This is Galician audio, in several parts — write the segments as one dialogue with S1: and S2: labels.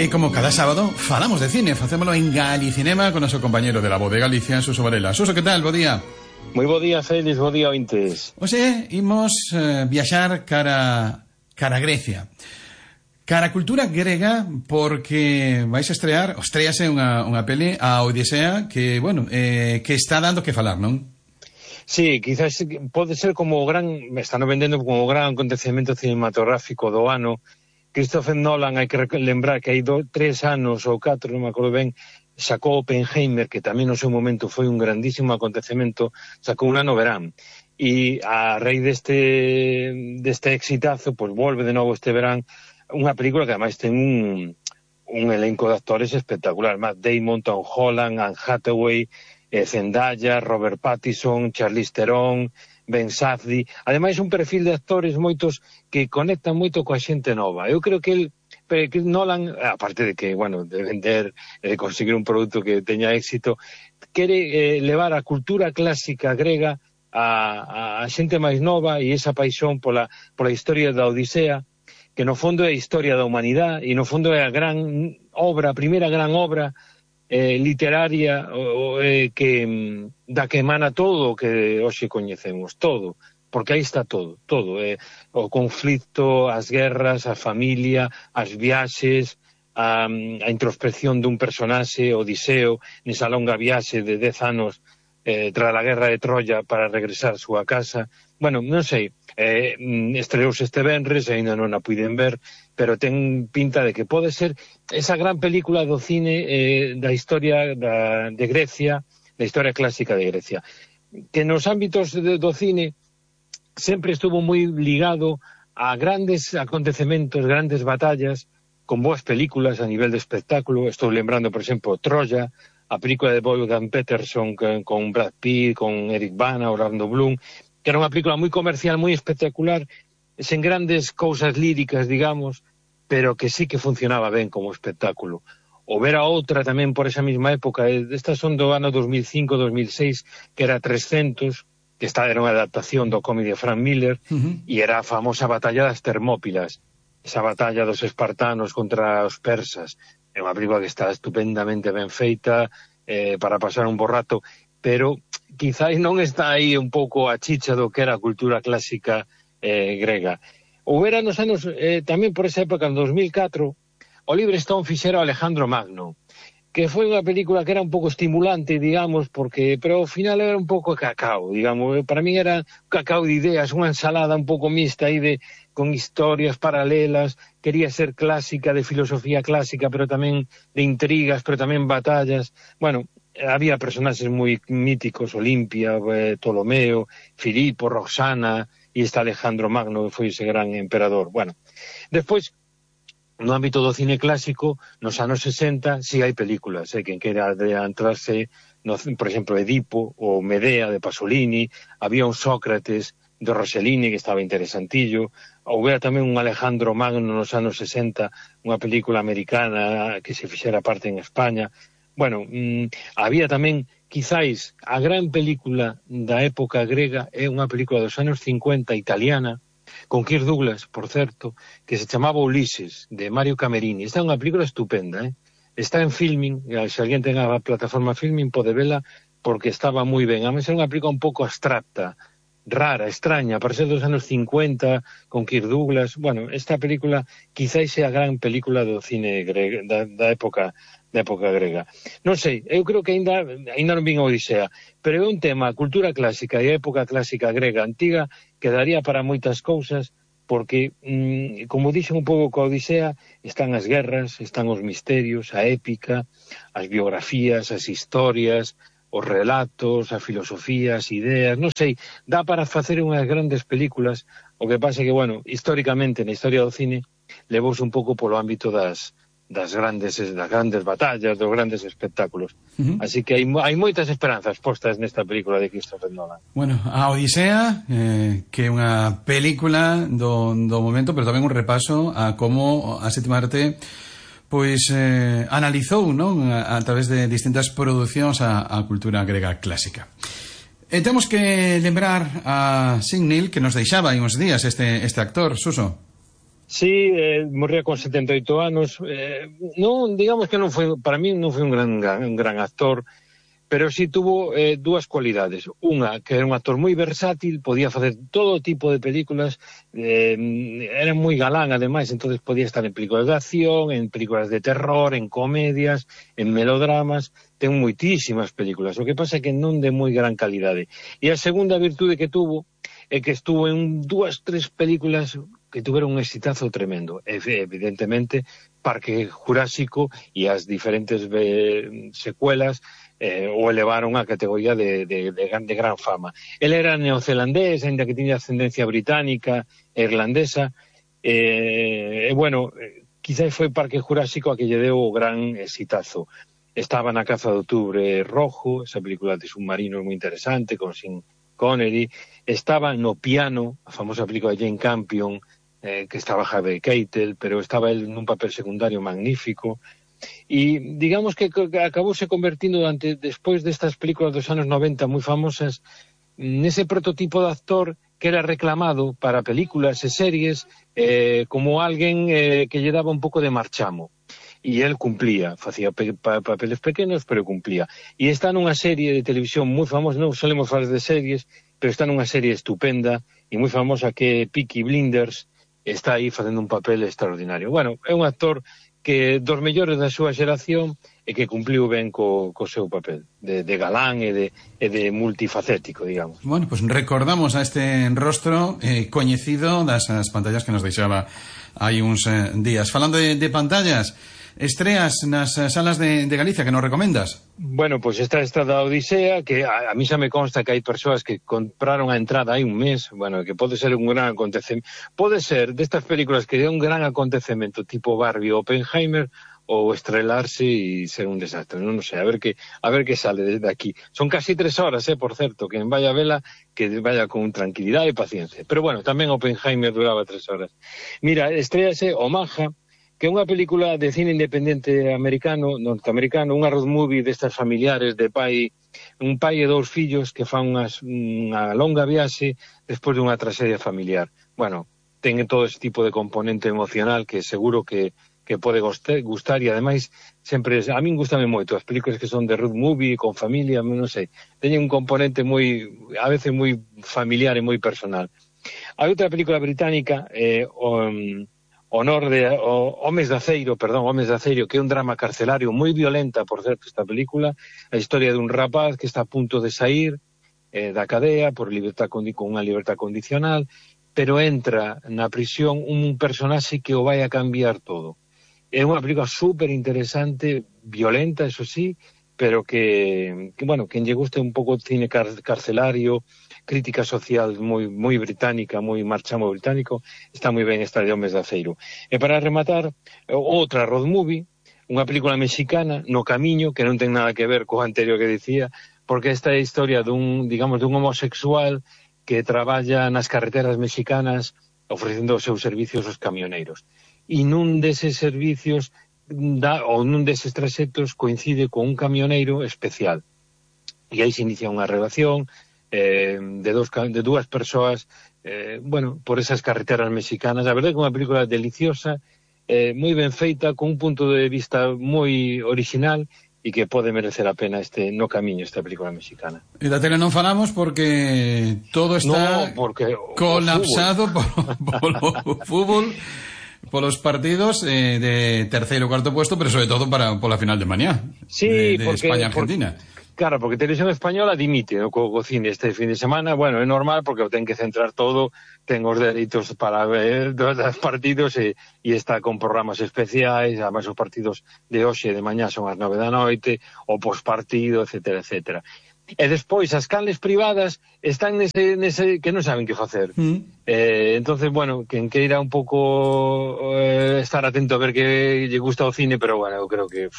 S1: E como cada sábado falamos de cine, facémolo en Galicinema con noso compañero de la Voz de Galicia, Suso Varela. Suso, que tal? Bo día.
S2: Moi bo día, Félix, bo día, ointes.
S1: Oxe, imos viaxar cara Grecia. Cara a cultura grega, porque vais a estrease unha peli, a Odisea, que, bueno, que está dando que falar, non?
S2: Sí, quizás pode ser como me están vendendo como o gran acontecemento cinematográfico do ano. Christopher Nolan, hai que lembrar que hai 3 anos ou 4, non me acordo ben, sacou Oppenheimer, que tamén no seu momento foi un grandísimo acontecemento, sacou un ano verán. E a raíz deste exitazo, pois volve de novo este verán unha película que ademais ten un elenco de actores espectacular. Matt Damon, Tom Holland, Anne Hathaway, Zendaya, Robert Pattinson, Charlize Theron, Ben Safdie. Ademais, un perfil de actores moitos que conectan moito coa xente nova. Eu creo que Nolan, aparte de que, bueno, de vender, de conseguir un produto que teña éxito, quere levar a cultura clásica grega a xente máis nova e esa paixón pola historia da Odisea, que no fondo é a historia da humanidade e no fondo é a gran obra, a primeira gran obra literaria da que emana todo o que hoxe coñecemos, todo, porque aí está todo, o conflito, as guerras, a familia, as viaxes, a introspección dun personaxe, Odiseo, nesa longa viaxe de 10 anos tras a guerra de Troya para regresar a súa casa. Bueno, non sei, estreouse este venres, ainda non a puiden ver, pero ten pinta de que pode ser esa gran película do cine da historia de Grecia, da historia clásica de Grecia, que nos ámbitos do cine sempre estuvo moi ligado a grandes acontecementos, grandes batallas, con boas películas a nivel de espectáculo. Estou lembrando, por exemplo, Troya, a película de Wolfgang Peterson con Brad Pitt, con Eric Bana, Orlando Bloom, que era unha película moi comercial, moi espectacular, sen grandes cousas líricas, digamos, pero que sí que funcionaba ben como espectáculo. Ou ver a outra tamén por esa mesma época, estas son do ano 2005-2006, que era 300, que era unha adaptación do cómic de Frank Miller, e era a famosa batalla das Termópilas, esa batalla dos espartanos contra os persas. É unha película que está estupendamente ben feita para pasar un bo rato, pero quizás non está aí un pouco a chicha do que era a cultura clásica grega. Houbera nos anos, tamén por esa época, en 2004, Oliver Stone fixera Alejandro Magno, que foi unha película que era un pouco estimulante, digamos, pero ao final era un pouco cacao, digamos. Para mí era cacao de ideas, unha ensalada un pouco mixta aí con historias paralelas. Quería ser clásica, de filosofía clásica, pero tamén de intrigas, pero tamén batallas. Bueno, había personaxes moi míticos, Olimpia, Ptolomeo, Filipo, Roxana, e está Alejandro Magno, que foi ese gran emperador. Bueno, despois, no ámbito do cine clásico, nos anos 60, si hai películas, quen quera adentrarse, por exemplo, Edipo, ou Medea, de Pasolini, había un Sócrates, de Rossellini, que estaba interesantillo, houbera tamén un Alejandro Magno nos anos 60, unha película americana que se fixera parte en España. Bueno, había tamén, quizáis, a gran película da época grega é unha película dos anos 50 italiana, con Kirk Douglas, por certo, que se chamaba Ulises, de Mario Camerini. Esta é unha película estupenda, Está en Filmin, se alguén ten a plataforma Filmin pode vela, porque estaba moi ben. A mí é unha película un pouco abstracta, rara, extraña, para ser dos anos 50, con Kirk Douglas. Bueno, esta película quizáis é a gran película do cine grego, da época grega. Non sei, eu creo que ainda non vin a Odisea, pero é un tema, a cultura clásica e a época clásica grega antiga, que daría para moitas cousas, porque, como dixen un pouco coa Odisea, están as guerras, están os misterios, a épica, as biografías, as historias, os relatos, a filosofía, as ideas, non sei, dá para facer unhas grandes películas. O que pasa é que, bueno, históricamente, na historia do cine, levouse un pouco polo ámbito das grandes batallas, dos grandes espectáculos. Así que hai moitas esperanzas postas nesta película de Christopher Nolan.
S1: Bueno, a Odisea, que é unha película do momento, pero tamén un repaso a como a sétima arte pois analizou, non, a través de distintas producións a cultura grega clásica. Temos que lembrar a Signil, que nos deixaba hai uns días este actor, Suso.
S2: Sí, morría con 78 anos. Non, digamos que non foi, para mí non foi un gran actor, pero sí tuvo dúas cualidades. Unha, que era un actor moi versátil, podía facer todo tipo de películas, era moi galán, ademais, entonces podía estar en películas de acción, en películas de terror, en comedias, en melodramas, ten moitísimas películas. O que pasa é que non de moi gran calidade. E a segunda virtude que tuvo é que estuvo en 2-3 películas que tuveron un exitazo tremendo. Evidentemente, Parque Jurásico e as diferentes secuelas o elevaron a categoría de gran fama. Ele era neozelandés, ainda que tiña ascendencia británica e irlandesa, bueno, quizás foi Parque Jurásico a que lle deu o gran exitazo. Estaba na Caza de Outubro Rojo, esa película de submarinos moi interesante, con Sean Connery. Estaba no Piano, a famosa película de Jane Campion, que estaba Harvey Keitel, pero estaba él nun papel secundario magnífico. E digamos que acabouse convertindo despois destas películas dos anos 90 moi famosas nese prototipo de actor que era reclamado para películas e series como alguén que lle daba un pouco de marchamo, e el cumplía, facía papeles pequenos pero cumplía, e está nunha serie de televisión moi famosa, non solemos falar de series, pero está nunha serie estupenda e moi famosa que é Peaky Blinders, está aí facendo un papel extraordinario. Bueno, é un actor que dos mellores da súa xeración e que cumpliu ben co seu papel de galán e de multifacético, digamos.
S1: Bueno, pues recordamos a este rostro coñecido das pantallas que nos deixaba hai uns días. Falando de pantallas, estreas nas salas de Galicia que nos recomendas?
S2: Bueno, pois esta da Odisea, que a mí xa me consta que hai persoas que compraron a entrada hai un mes, bueno, que pode ser un gran acontecemento, pode ser destas películas que é un gran acontecemento tipo Barbie ou Oppenheimer, ou estrelarse e ser un desastre, non sei, a ver que sale desde aquí. Son casi 3 horas, por certo, que en vaya a vela, que vaya con tranquilidade e paciencia. Pero bueno, tamén Oppenheimer duraba 3 horas. Mira, estrease Omaha, que é unha película de cine independente norteamericano, unha road movie destas familiares de un pai e 2 fillos que fan unha longa viaxe despois dunha tragedia familiar. Bueno, ten todo ese tipo de componente emocional que seguro que pode gustar, e ademais sempre, a min gustame moito as películas que son de road movie con familia, non sei, teñen un componente a veces moi familiar e moi personal. Hai outra película británica, Homes de Aceiro, que é un drama carcelario moi violenta, por certo, esta película, a historia dun rapaz que está a punto de sair da cadea por con unha libertad condicional, pero entra na prisión un personaxe que o vai a cambiar todo. É unha película super interesante, violenta, eso sí, pero que bueno, quen lle guste un pouco de cine carcelario, crítica social moi británica, moi marchamo británico, está moi ben esta de Homes de Aceiro. E para rematar, outra road movie, unha película mexicana, No Camiño, que non ten nada que ver co anterior que dicía, porque esta é a historia dun homosexual que traballa nas carreteras mexicanas ofrecendo os seus servicios aos camioneiros. E nun deses servicios ou nun deses traxectos coincide con un camioneiro especial. E aí se inicia unha relación de dúas persoas, bueno, por esas carreteras mexicanas. A verdade é que é unha película deliciosa, moi ben feita, con un punto de vista moi original e que pode merecer a pena No Camiño, esta película mexicana.
S1: E da tele non falamos porque todo está colapsado polo fútbol, polos partidos de terceiro e cuarto puesto, pero sobre todo pola final de mañá,
S2: sí,
S1: de España-Argentina.
S2: Claro, porque Televisión Española dimite co cine este fin de semana. Bueno, é normal porque o ten que centrar todo, ten os dereitos para ver os partidos e está con programas especiais, además os partidos de hoxe e de mañá son as 9 da noite, o pospartido, etcétera, etcétera. E despois as canles privadas están nese que non saben que facer. Entonces, bueno, quen queira un pouco estar atento a ver que lle gusta o cine, pero bueno, eu creo que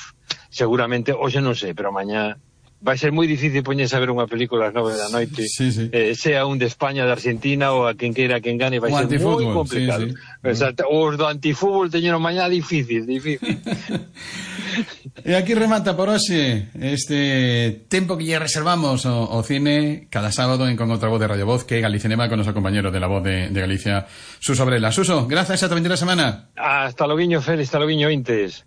S2: seguramente, hoxe non sei, pero mañá vai ser moi difícil poñerse a ver unha película ás 9 da noite, sea un de España, de Argentina ou a quen queira quen gane, vai ser moi complicado. Os do antifútbol teñeron mañá difícil.
S1: E aquí remata por hoxe este tempo que lle reservamos ao cine cada sábado en Con outra voz de Radio Voz, que é Galicinema, con o noso compañero de La Voz de Galicia, Suso Varela. Suso, grazas, ata a vindeira semana.
S2: Hasta loguiño, Félix, hasta loguiño, Intes.